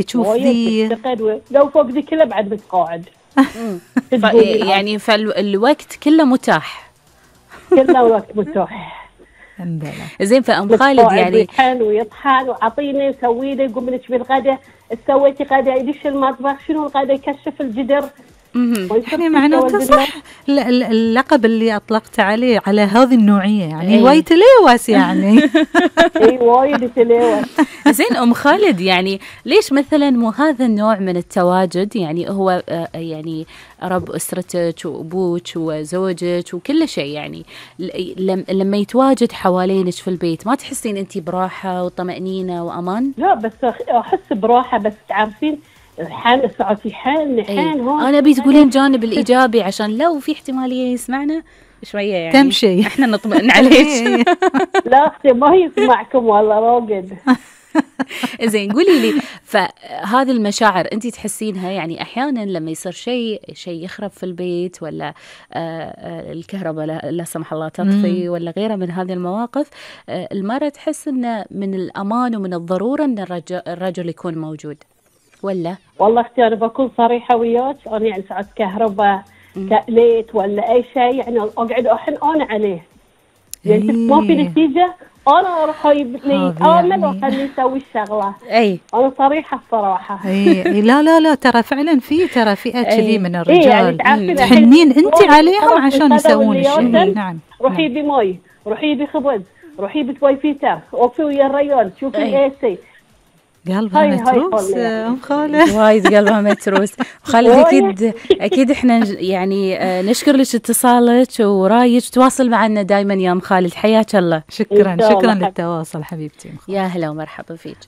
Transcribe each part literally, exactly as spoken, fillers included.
تشوف وايد ذي تفتقد و- لو فوق ذي كله بعد بتقاعد. ف... تقولي العظيم. يعني فالوقت كله متاح. كله وقت متاح. الحمد لله. زين فأم خالد متقاعد يعني ويحن ويطحن وعطيني سوي لي قوم لك بالغدا، سويتي غدا يدش المطبخ شنو الغدا يكشف الجدر. يعني معناته صح ال- ال- اللقب اللي أطلقت عليه على هذه النوعية يعني إيه. وايد تلوث يعني. اي وايد تلوث. زين أم خالد يعني ليش مثلا مو هذا النوع من التواجد، يعني هو آه، يعني رب أسرتك وأبوك وزوجك وكل شيء، يعني ل- لم- لما يتواجد حوالينك في البيت ما تحسين أنت براحة وطمأنينة وأمان؟ لا بس أخ- احس براحه، بس تعرفين الحين ساعتي حين حين أي. هون أنا بتقولين جانب الإيجابي عشان لو في احتمالية يسمعنا شوية يعني تمشي. احنا نطمئن عليك. لا اختي ما يسمعكم والله راقد. زين قولي لي، فهذه المشاعر انت تحسينها يعني احيانا لما يصير شيء شيء يخرب في البيت، ولا آه، آه، الكهرباء لا, لا سمح الله تطفي ولا غيرها من هذه المواقف، آه، المرأة تحس انه من الامان ومن الضرورة ان الرجل, الرجل يكون موجود ولا؟ والله اختي انا بكون صريحه وياك، انا يعني ساعات كهرباء كليت ولا اي شيء يعني اقعد احن انا عليه، يعني إيه. ما في نتيجه انا اروح اجيب لي هذا امل يعني. واخليه يسوي الشغله. اي انا صريحه الصراحه. اي إي، لا لا لا ترى فعلا في ترى فئة كذي من إيه يعني الرجال تعرفين تحنين الحين انت عليهم خلاص عشان انتهوا يسوون اللي الشيء. يوصل. نعم روحي نعم. بمي، روحي بخبز، روحي بتوي فيتر، وقفي ويا الريال شوفي أي. اي سي. قلبها هاي- هاي متروس والله يعني. ام خالد. وايد قلبها متروس. خالد اكيد اكيد احنا نج- يعني آه، نشكر لك اتصالك ورايك، تواصل معنا دائما يا ام خالد، حياك الله. شكرا إن شاء الله شكرا حبيبتي. للتواصل حبيبتي أم خالد. يا هلا ومرحبا فيك.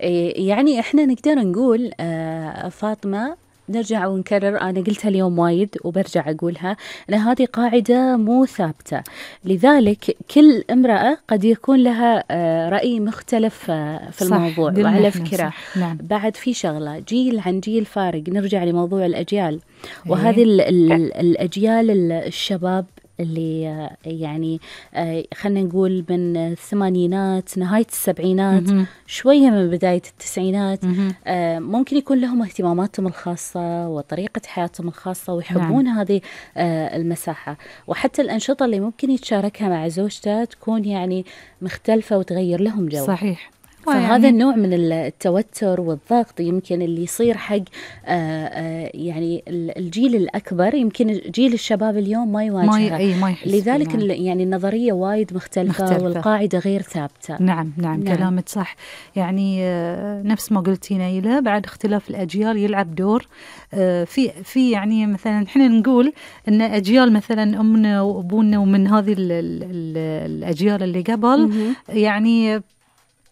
إيه يعني احنا نقدر نقول آه، فاطمة، نرجع ونكرر، أنا قلتها اليوم وايد وبرجع أقولها، أن هذه قاعدة مو ثابتة، لذلك كل امرأة قد يكون لها آه، رأي مختلف آه، في صح، الموضوع. قلنا وعلى إحنا فكرة صح، نعم. بعد في شغلة جيل عن جيل فارق، نرجع لموضوع الأجيال، وهذه ال- ال- الأجيال ال- الشباب اللي آه، يعني آه، خلينا نقول من الثمانينات نهاية السبعينات مهم. شوية من بداية التسعينات، مهم. آه، ممكن يكون لهم اهتماماتهم الخاصة وطريقة حياتهم الخاصة ويحبون نعم. هذه آه، المساحة، وحتى الأنشطة اللي ممكن يتشاركها مع زوجته تكون يعني مختلفة وتغير لهم جو. صحيح. فهذا يعني النوع من التوتر والضغط يمكن اللي يصير حق آه، آه، يعني ال- الجيل الأكبر، يمكن جيل الشباب اليوم ما ما ي- يواجهها، أي ما يحس لذلك فيه، نعم. ال- يعني النظرية وايد مختلفة, مختلفة. والقاعدة غير ثابتة. نعم نعم, نعم. كلامك صح. يعني آه، نفس ما قلتي نيلة، بعد اختلاف الأجيال يلعب دور آه، في في يعني مثلا احنا نقول ان أجيال مثلا أمنا وأبونا ومن هذه ال- ال- ال- الأجيال اللي قبل مهم. يعني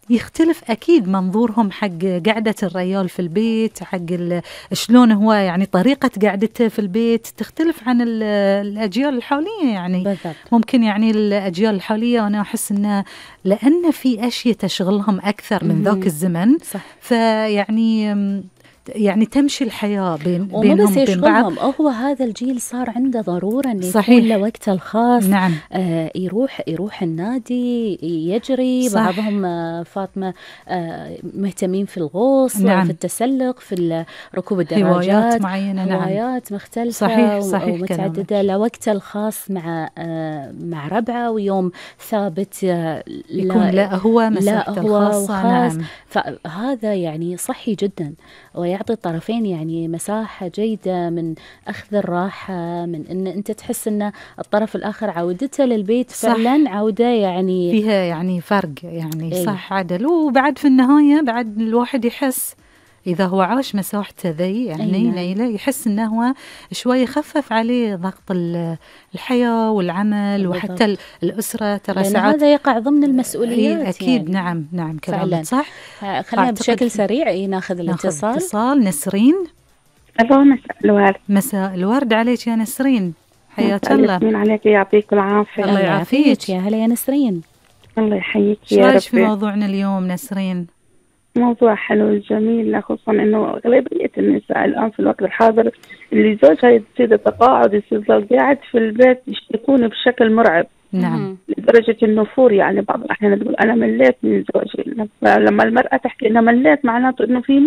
يختلف أكيد منظورهم حق قعدة الرجال في البيت، حق ال- شلون هو يعني طريقة قعدته في البيت تختلف عن ال- الأجيال الحالية. يعني بالضبط. ممكن يعني الأجيال الحالية أنا أحس أنه لأن في أشياء تشغلهم أكثر من مهم. ذاك الزمن، صح. فيعني يعني تمشي الحياة بين ومو بينهم بس وبين بعض. يشغلهم، هو هذا الجيل صار عنده ضرورة إنه يكون صحيح. له وقته الخاص. نعم آه يروح يروح النادي يجري، صح. بعضهم آه فاطمة آه مهتمين في الغوص، نعم. في التسلق، في ال- ركوب هوايات الدراجات، معينة. نعم هوايات مختلفة صحيح صحيح ومتعددة، كلامك. لوقته الخاص مع آه مع ربعه، ويوم ثابت آه يكون لا هو مساحته هو الخاصة. وخاص. نعم فهذا يعني صحي جدا، ويعطي الطرفين يعني مساحة جيدة من أخذ الراحة، من أن أنت تحس أن الطرف الآخر عودته للبيت صح. فعلا عودة يعني فيها يعني فرق يعني. إيه. صح عدل. وبعد في النهاية بعد الواحد يحس إذا هو عاش مساحته ذي يعني أي نعم. نيلة، يحس إنه هو شوي يخفف عليه ضغط ال- الحياة والعمل بالضبط. وحتى ال- الأسرة. ترى لأن ساعات هذا يقع ضمن المسؤوليات. إيه أكيد يعني. نعم نعم فعلاً. كلامك صح. ها- خلينا أعتقد بشكل في- سريع إيه ناخذ ناخذ الاتصال. اتصال. نسرين. ألو مساء الورد. مساء الورد عليك يا نسرين، حياك مساء الله. الياسمين عليك، يعطيك العافية. الله يعافيك. يا هلا يا نسرين. الله يحييك شو يا رايك في ربي. موضوعنا اليوم نسرين؟ موضوع حلو وجميل، خصوصا انه اغلبية النساء الان في الوقت الحاضر اللي زوجها يصير تقاعد، يصير قاعد في البيت، يشتكون بشكل مرعب. نعم. لدرجة النفور. يعني بعض الأحيان تقول أنا مليت من زوجي. لما المرأة تحكي أنا مليت معناته إنه في